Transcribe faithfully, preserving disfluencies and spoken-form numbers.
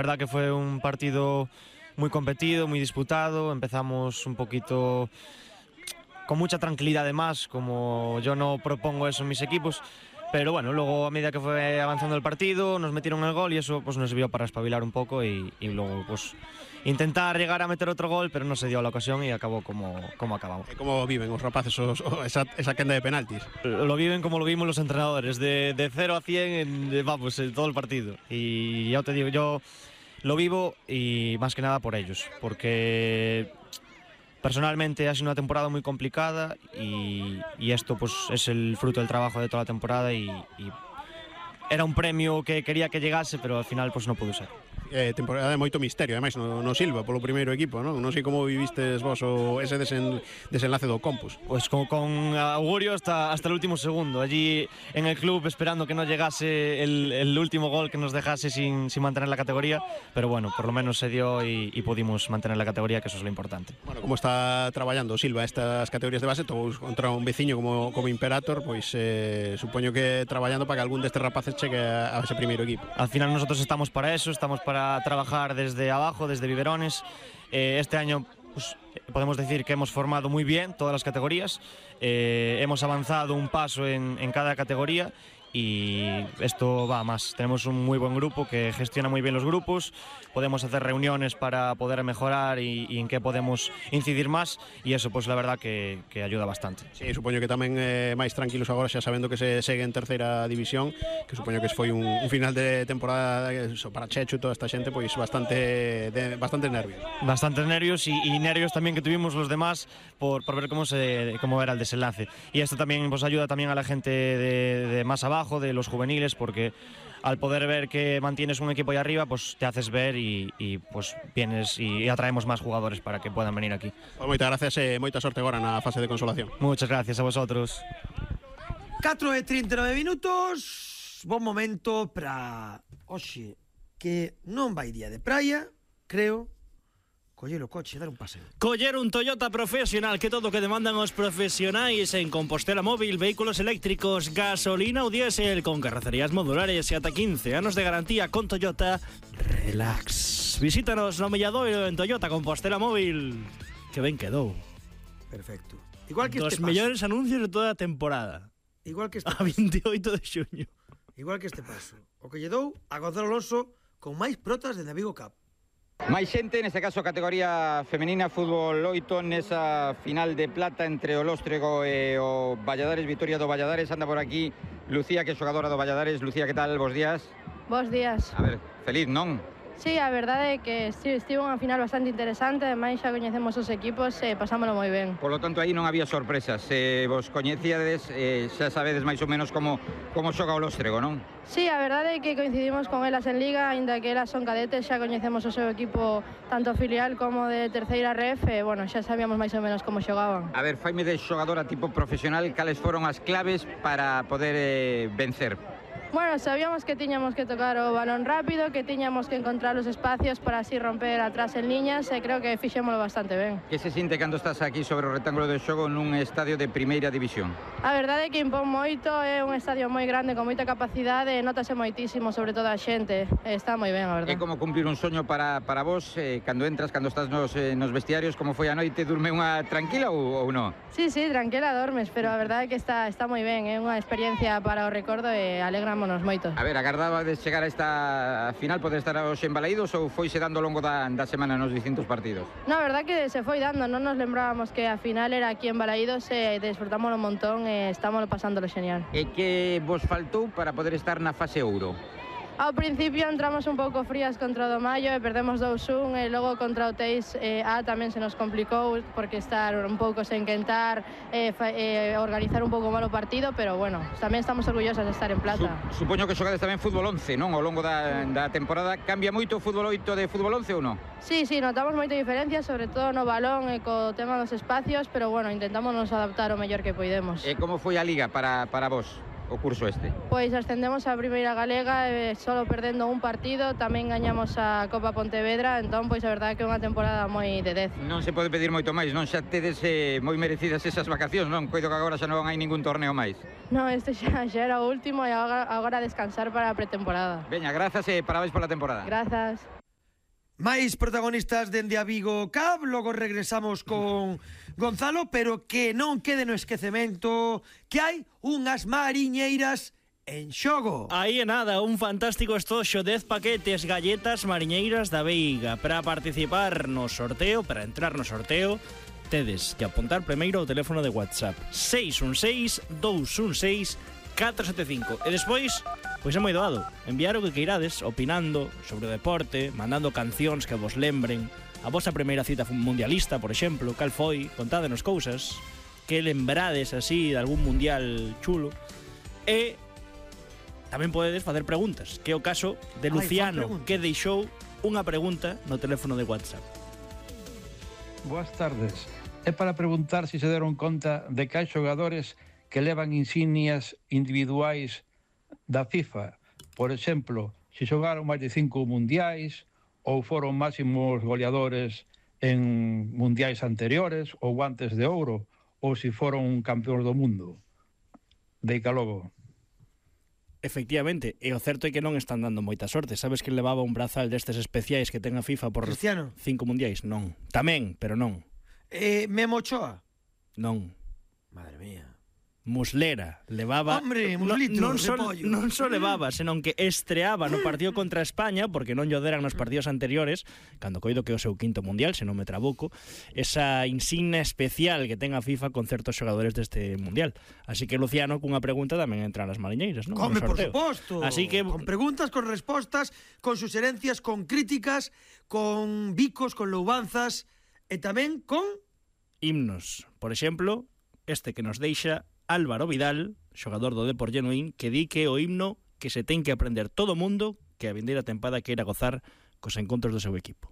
La verdad que fue un partido muy competido, muy disputado. Empezamos un poquito con mucha tranquilidad además, como yo no propongo eso en mis equipos. Pero bueno, luego a medida que fue avanzando el partido nos metieron el gol y eso pues nos sirvió para espabilar un poco y, y luego pues intentar llegar a meter otro gol, pero no se dio la ocasión y acabó como, como acabamos. ¿Cómo viven os rapaces os, os, esa, esa quenda de penaltis? Lo viven como lo vimos los entrenadores, de, de cero a cien en, vamos, en todo el partido. Y ya te digo, yo lo vivo y más que nada por ellos, porque personalmente ha sido una temporada muy complicada y, y esto pues es el fruto del trabajo de toda la temporada y, y era un premio que quería que llegase, pero al final pues no pudo ser. Eh, temporada de moito misterio, ademais no, no Silva polo primeiro equipo, non? Non sei como vivistes vos o ese desen, desenlace do Compus. Pues con, con augurio hasta, hasta el último segundo, allí en el club esperando que no llegase el, el último gol que nos dejase sin, sin mantener la categoría, pero bueno, por lo menos se dio y, y pudimos mantener la categoría, que eso es lo importante. Bueno, como está traballando Silva estas categorías de base, todos contra un veciño como, como Imperator, pois eh, supoño que traballando para que algún destes rapaces chegue a, a ese primeiro equipo. Al final nosotros estamos para eso, estamos para trabajar desde abajo, desde Biberones. Eh, este año pues, podemos decir que hemos formado muy bien todas las categorías, eh, hemos avanzado un paso en, en cada categoría y esto va a más. Tenemos un muy buen grupo que gestiona muy bien los grupos, podemos hacer reuniones para poder mejorar y, y en qué podemos incidir más y eso pues la verdad que, que ayuda bastante. Sí, supoño que tamén eh, máis tranquilos agora xa sabendo que se segue en terceira división, que supoño que foi un, un final de temporada eso, para Chechu e toda esta xente pois bastante de, bastantes nervios. Bastantes nervios y, y nervios también que tuvimos los demás por, por ver cómo, se, cómo era el desenlace y esto también pues ayuda también a la gente de, de más abajo, de los juveniles, porque al poder ver que mantienes un equipo ahí arriba, pues te haces ver y, y pues vienes y atraemos más jugadores para que puedan venir aquí. Pues moitas gracias e moita sorte agora na fase de consolación. Muchas gracias a vosotros. catro e trinta e nove minutos, bon momento para hoxe que non vai día de praia, creo, coller o coche e dar un paseo. Coller un Toyota profesional, que todo o que demandan os profesionais en Compostela Móvil, vehículos eléctricos, gasolina ou diésel, con carrocerías modulares e ata quince anos de garantía con Toyota Relax. Visítanos no Milladoiro en Toyota Compostela Móvil. Que ben quedou. Perfecto. Igual que Dos este paso. mellores anuncios de toda a temporada. Igual que este a paso. veintioito de xuño. Igual que este paso. O que lle dou a Gonzalo Alonso con máis protas de Navigo Cup. Máis xente, neste caso categoría femenina, fútbol oito, nesa final de plata entre o Lóstrego e o Valladares, Vitoria do Valladares. Anda por aquí Lucía, que é xogadora do Valladares. Lucía, que tal? Bos días. Bos días. A ver, feliz, non? Sí, a verdade é que estivo unha final bastante interesante, ademais xa coñecemos os equipos e pasámolo moi ben. Por lo tanto, aí non había sorpresas. Se vos coñecíades, eh, xa sabedes máis ou menos como, como xoga o Lóstrego, non? Sí, a verdade é que coincidimos con elas en Liga, aínda que elas son cadetes, xa coñecemos o seu equipo tanto filial como de terceira ref, e, bueno, xa sabíamos máis ou menos como xogaban. A ver, faime de xogadora tipo profesional, cales foron as claves para poder eh, vencer? Bueno, sabíamos que tiñamos que tocar o balón rápido, que tiñamos que encontrar os espacios para así romper atrás en liñas e creo que fixémolo bastante ben. Que se sinte cando estás aquí sobre o rectángulo de xogo nun estadio de primeira división? A verdade é que impón moito, é un estadio moi grande con moita capacidade e notase moitísimo sobre toda a xente. Está moi ben, a verdade. É como cumplir un soño para, para vos, eh, cando entras, cando estás nos, eh, nos vestiarios, como foi a noite, durme unha tranquila ou, ou non? Sí, sí, tranquila dormes, pero a verdade é que está, está moi ben, é unha experiencia para o recordo e alegramonos moito. A ver, agardaba de chegar a esta final, poder estar hoxe en Balaídos ou foise dando ao longo da, da semana nos distintos partidos? Na verdade que se foi dando, non nos lembrábamos que a final era aquí en Balaídos e disfrutámoslo un montón e estamos pasándolo genial. E que vos faltou para poder estar na fase ouro? Ao principio entramos un pouco frías contra o do Maio e perdemos dous un e logo contra o Teis eh, A tamén se nos complicou porque estar un pouco sen quentar e eh, eh, organizar un pouco mal o partido, pero bueno, tamén estamos orgullosas de estar en plata. Su, supoño que xogades tamén fútbol once, non? Ao longo da, da temporada. Cambia moito o fútbol oito de fútbol once ou non? Sí, sí, notamos moita diferencia, sobre todo no balón e co tema dos espacios, pero bueno, intentamos nos adaptar o mellor que poidemos. E como foi a Liga para, para vos? O curso este? Pois ascendemos a Primeira Galega e solo perdendo un partido, tamén gañamos a Copa Pontevedra, entón pois a verdade que é unha temporada moi de dez. Non se pode pedir moito máis, non? Xa tedes eh, moi merecidas esas vacacións, non? Coido que agora xa non hai ningún torneo máis. Non, este xa, xa era o último e agora, agora descansar para a pretemporada. Veña, grazas e parabéns pola temporada. Grazas. máis protagonistas dende a Vigo Cup, logo regresamos con Gonzalo, pero que non quede no esquecemento que hai unhas mariñeiras en xogo. Aí é nada, un fantástico estoxo, dez paquetes galletas mariñeiras da Veiga. Para participar no sorteo, para entrar no sorteo, tedes que apuntar primeiro o teléfono de WhatsApp seis un seis, dous un seis, catro sete cinco. E despois, pois é moi doado, enviar o que queirades, opinando sobre o deporte, mandando cancións que vos lembren a vosa primeira cita mundialista, por exemplo, cal foi, contádenos cousas que lembrades así de algún mundial chulo. E tamén podedes facer preguntas, que é o caso de Luciano, Ay, que deixou unha pregunta no teléfono de WhatsApp. Boas tardes. É para preguntar se se deron conta de que hai xogadores que levan insignias individuais da FIFA. Por exemplo, se xogaron máis de cinco mundiais ou foron máximos goleadores en mundiais anteriores ou guantes de ouro ou se foron campeóns do mundo. Deica logo. Efectivamente, e o certo é que non están dando moita sorte. Sabes que levaba un brazal destes especiais que ten a FIFA por Cristiano. cinco mundiais? Non. Tamén, pero non. Eh, Memo Ochoa? Non. Madre mía. Muslera, levaba... Hombre, muslito, non, non, só, repollo. non só levaba, senón que estreaba no partido contra España, porque non lle deran nos partidos anteriores, cando coido que é o seu quinto mundial, se non me trabuco, esa insignia especial que ten a FIFA con certos xogadores deste mundial. Así que Luciano, cunha pregunta, tamén entra nas mariñeiras, non? Come, por suposto. Así que... Con preguntas, con respostas, con suxerencias, con críticas, con bicos, con loubanzas, e tamén con... himnos. Por exemplo, este que nos deixa Álvaro Vidal, xogador do Depor Genuín, que di que o himno que se ten que aprender todo o mundo que a vindeira tempada queira gozar cos encontros do seu equipo.